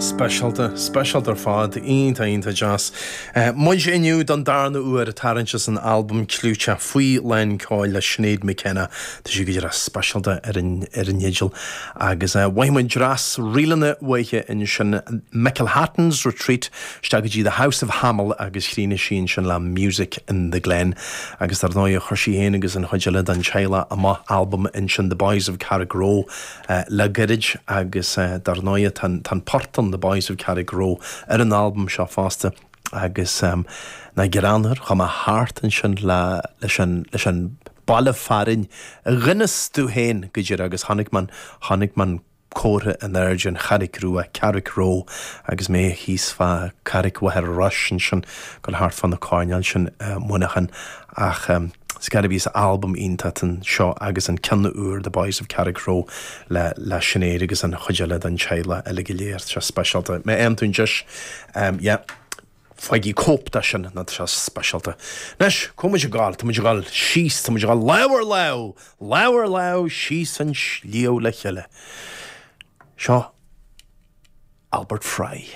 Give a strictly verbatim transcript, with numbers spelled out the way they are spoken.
Speisialta, speisialta ar fad, iontach iontach deas. Muid inniu don darna huair ag tarraingt as an albam clúiteach Faoi Lán Ceoil le Sinéad McKenna. Tá sé go díreach speisialta ar an ar an dteideal agus mhothaigh muid dreas ríleanna uaithi ansin McElhatton's Retreat isteach go dtí The House of Hamill agus chríochnaigh sí ansin le Music in the Glen agus dar ndóigh chuir sí féin agus an chuid eile den teaghlach amach albam ansin The Boys of Carrickroe le gairid agus dar ndóigh tá an port an The Boys of Carrickroe ar an albam seo fosta agus um, na greannmhar chuaigh mé thart ansin le leis an leis an baile fearainn a rinne tú féin go díreach agus chonaic mé chonaic mé an comhartha in airde an Charraig Rua Carrickroe agus mé thíos fá Carraig Mhachaire Rois ansin go thart fá na coirnéil sin uh, Muineachán ach um, Scarabís albam iontach seo agus an ceann úr The Boys of Carrickroe le le Sinéad agus an chuid eile den teaghlach eile go léir seo speisialta. Má fhaigheann tú deis um, yeah, Faigh cóip de sin ná sé speisialta. Anois cá muid ag gabháil, Tá muid ag gabháil síos, Tá muid ag gabháil lámh ar lámh, lámh ar lámh síos an sliabh le chéile. Seo Albert Fry.